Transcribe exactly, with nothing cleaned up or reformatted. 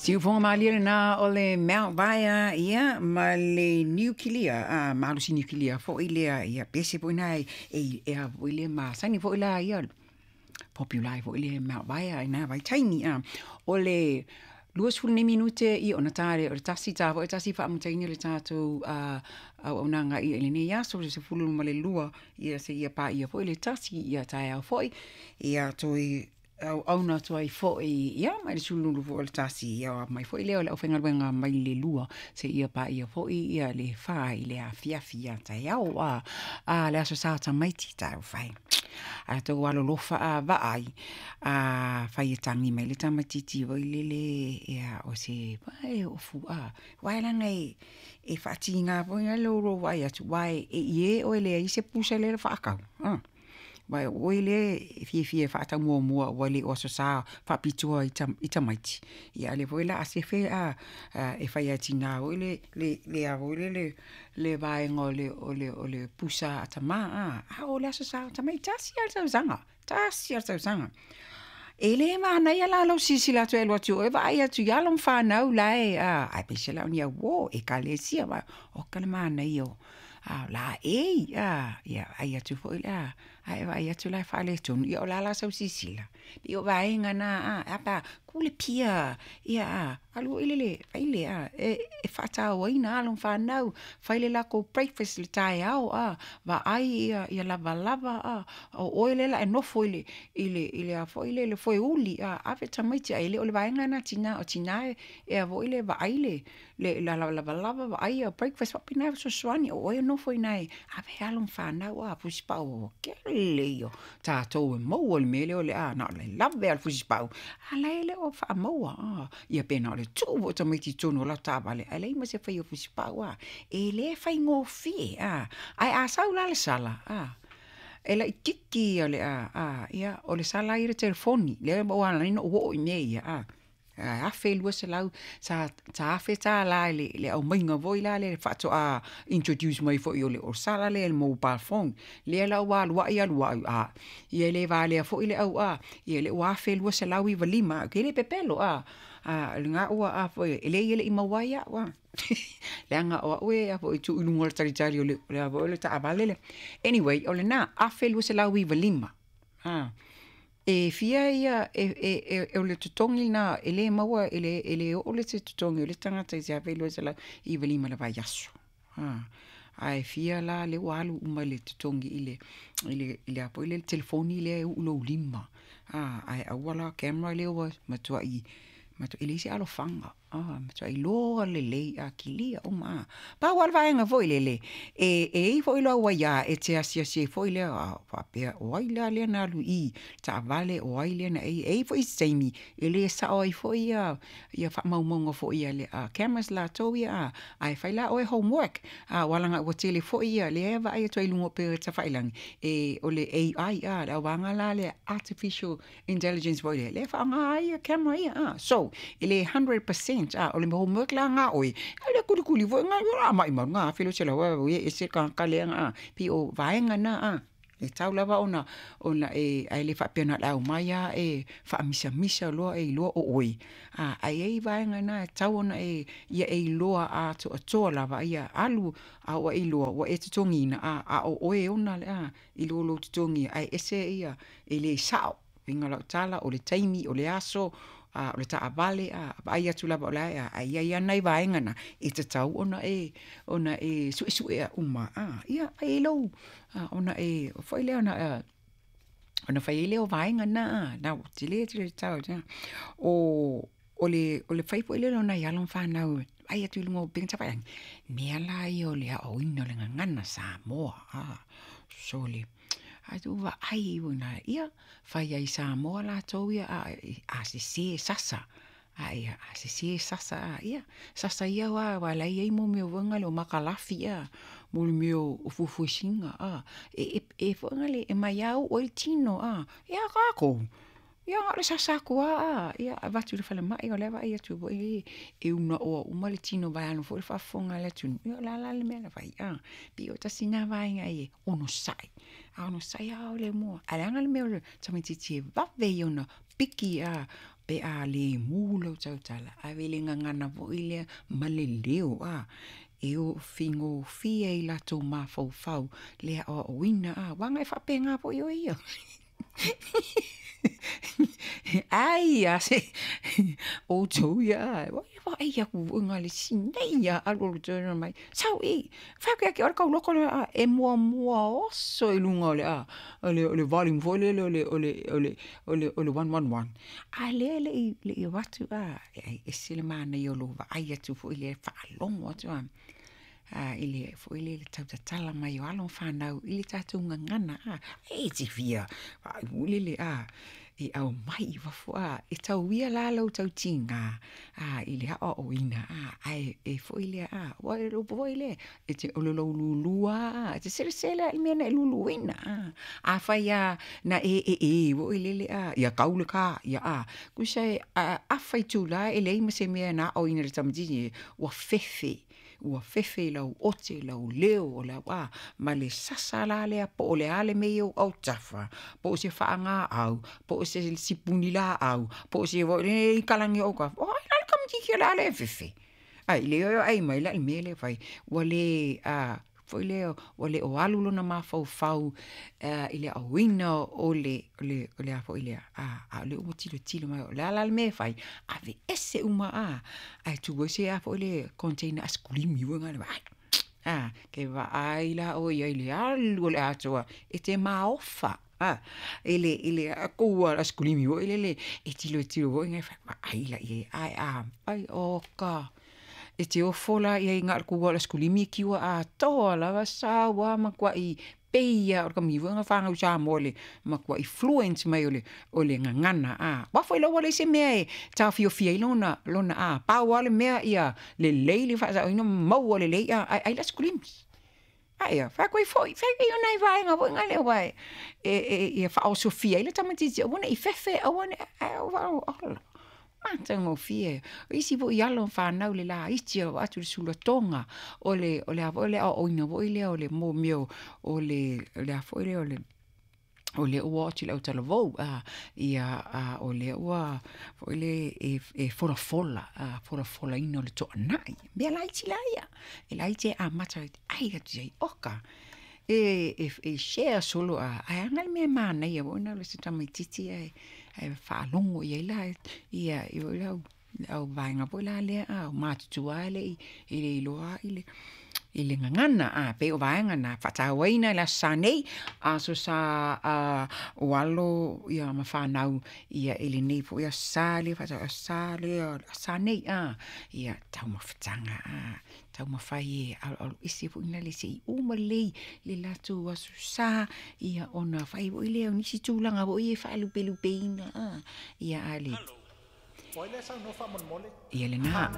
Siufoga malie lena o le Mount Vaea ia ma le niukilia, a malosi niukilia foʻi lea ia pese foʻi na e e a foʻi le masani foʻi la ia popular ai foʻi le Mount Vaea i na vaitaimi a o le luasefulu nei minute ia ona tā lea o le tasi ta foʻi tasi faamataina le tatou a auaunaga ia i lenei aso le sefulu ma le lua ia seia paia foʻi le tasi ia taeao foʻi ia toe auauna atu ai foʻi ia mai le sululu foi o le tasi ia mai foʻi lea o le aufaigaluega mai le lua seia paia foʻi ia le fa i le afiafi ia taeao a a le aso sa tamaiti taufai a tou alolofa a vaai a fai e tagi mai le tamaititi foi lele ia o se e ofu a uae laga e e faatiga foi na lou lou vaai atu uae e ie oe leai se pusa lea na faatau a uae o oe lea e fiafia e faatau muamua ua le o Aso Sa faapitoa i i tamaiti ia a o lea foi o le a sefe a e fai lava e tina foi le le le a foi lele le vaega o le o le o le pusa a tamā a a o le Aso Sa o tamaiti tasi lava le tausaga tasi lava le tausaga. E le manaia la lou silasila atu e alu atu i o e vaai atu i alo ma fanau la e a aemaise la o ni auō ekalesia ma oka le manaia o a laei a ia vaai atu foi la ae vaai atu la e faaletonu ia o le a la sau silasila pei o vaega na a e a pe a kulipia ia a alu foi lele fai le a e e faatauaina alo ma fanau fai le latou breakfast i le taeao a vaai ia ia lavalava a o oe lea o le a e nofo i le i le i le a foi lele foeuli a ave tamaiti ae le o le vaega lena a tina o tina e a foi le vaai le le lavalava vaai ia breakfast faapena e fesoasoani o oe e nofo i ina e ave alo ma fanau a fusipau o kele ia o tatou e maua i le mea lea o le a na o le lave lava o le fusipau a o la e le o faamaua a ia pe na o le tuu foi o tamaiti i totonu o latou taavale ae leai ma se faia o fusipau a e le faigofie a ae a sau la le sala a e laitiiti ia le a a ia o le sala lava ia o le telefoni lea ua ala ai ona ou oo i mea ia a afe lua selau sa sa afe tālā i le le aumaiga foi la lea faatoa introduce mai foi o le o sala lea i le mobile phone lea la ua alu ai alu ai a ia e le valea foi le au a ia lea ua afe lua selau iva lima ou te le pepelo a a lena ua a foi e leai e le i maua ai au a leaga o au e a foi e tuu i luga o le talitali o le o le a foi o le taavale lea anyway o lena afe lua selau iva lima a e fia ia e e e o le totogi lena e le maua e le e le oo le se totogi o le tagata i se afe lua selau iva lima i le vaiaso a ae fia la lea ua alu uma le totogi i le i le i le a foi lea le telefoni lea e uu i lou lima a ae aua la camera lea ua matuai e leai se alofaga a matuai iloa lelei a kilia uma a pau lava le vaega foi lele e e i ai foi lau aiā e te asiasi ai foi lea a faapea o ai la lea na alu i i taavale o ai lea na e i ai foi isi taimi e le sao ai foi ia ia faamaumauga foi a le cameras latou ia a ae fai la oe homework a ua laga ua tele foi ia lea e vaai atu ai i luga o upega tafailagi e o le A I a le auvaega la lea artificial intelligence foi lea lea e faaaoga ai ia camera ia a so e le hundred percent a o le homework la na oe e le kulikuli foi na a maumau na afe lua selau e ese le tagata lea a pei o vaega na a e tatau lava ona ona e ae le faapea na o le aumai lava e faamisamisa loa e iloa o oe a ae i ai vaega na e tatau ona e ia e iloa atoatoa lava ia alu a ua e iloa ua e totogiina a a o oe e ona le a i lo lou totogi ae ese ia e le sao uiga o lau tala o le taimi o le aso a o le taavale a vaai atu lava o la e a ae i ai lava nai vaega na e tatau ona e ona e suesue uma a ia fai ai lou ona e foi lea ona ona fai ai lea o vaega na a na ua tele tele le tau o o le o le fai foi lea o nai alo ma fanau e vaai atu i luga o upega tafailagi mea la ia o le aoaoina o le gagana Samoa a sole ae tuu vaai ia fai ai Samoa latou ia a a sese sasa a ia a sese sasa a ia sasa ia aua aua la e i ai mo mea foi na o makalafi a mo le mea o fuefuesina a e e foi na le e maiau oo ai le tino a ia a tatou ia na o le sasa atu lava a ia avatu i le falemai o la e vaai atu foi e unaoa uma le tino vaeane foi le faafofoga a le atunuu ia o le a la le mea na fai a pei o tasi lena vaega e onosai a onosai lava le mua ae leaga le mea o le tamaitiiti e vave ia ona piki a Pe a le mu lau tautala, ave le gagana foi lea ma le leo a e o figofie ai latou mafaufau le aoaoina a uaga e faapena foi oe ia. Ai a se outou ia vaai atu foi na o le sinei lava alualu tonu mai, sau i i, fai atu ia te oe le tauloko lea a e muamua oso i luga o le a o le o le volume foi lele o le o le o le o le o le one one one, a o lea e le i le i avatu a, e ese le manaia o lou vaai atu foi lea faalogo atu a a i le foi lele i le tau tatala mai o alo ma fanau i le tatou gagana a, e te fia foi lele a e aumai i fafo a, e tau ia la lou tautiga a i le aoaoina a, ae e foi lea a, aua o le upu foi lea, e te o le lou lulua lava, e te selesele lava i le mea na e luluina a. Afai lava na e ee foi lele a, ia tau le ta, ia a, tusa e afa itula e leai ma se mea na aoina i le tamaitiiti ua fefe, ua fefe i lau ote, lau leo, o lau a, ma le sasa la lea po o le a le mea e i ou autafa, po o se faagaau, po o se sipuni laau, po o se i kalagi o autafa, o ai la le tamaitiiti o le a le fefe? Ai le vaai mai la i le mea lea e fai, ua le a foi lea ua le o alu lona mafaufau i le aoina o le o le o le a foi lea a a o lea ua tilotilo mai o le a la le mea e fai, aveese uma a ae tuu ai se a foi lea container aisakulisi foi lena vaai a e vaai la ʻoe i ai i le alu o le atoa e te maofa a i le i le kou aisakulisi foi lele e tilotilo foi na vaai la i ai ae afai oka e te ofo la i ai na o le kou lava o le aisakulisi e kiua atoa lava sau lava matuai pei lava o le tamaitiiti foi lea na fanau i Samoa i le matuai fluent mai o le o le gagana a. Aua foi la ua leai se mea e taofiofia ai lona lona a, pau lava le mea ia lelei le faasaoina ma maua lelei a, ae ai le aisakulisi. Ae a, fai atu ai foi, fai ai o nai vaega foi na lea aua e e ia faaosofia ai le tamaitiiti aua ne i fefe aua ne i ae ou faalogo ola matagofie. O isi foi alo ma fanau le laiti o lo o avatu i le sulatoga o le o le a foi le aoaoina foi lea o le mo mea o le o le a foi lea o le o lea ua oo atu i le autalavou a, ia a o lea ua foi lea e e folafola a folafolaina o le toanai, mea laiti la ia, e laiti e amata ai atu i ai oka e e e share solo a, ae aga le mea manaia foi na o se tamaitiiti ae ae faalogo i ai la ia i le au le au vaega foi la lea a o matutua e le i e le iloa i le i le gagana a pei o vaega na faatauaina i le Aso Sa nei, Aso Sa a o alo ia ma fanau ia i lenei foi Aso Sa lea faatau Aso Sa lea Aso Sa nei a ia taumafataga a taumafai e aloalo ese foi na le se i uma lelei le latou Aso Sa ia ona fai foi lea o nisi tulaga foi e faalupelupeina a ia a le ia lena.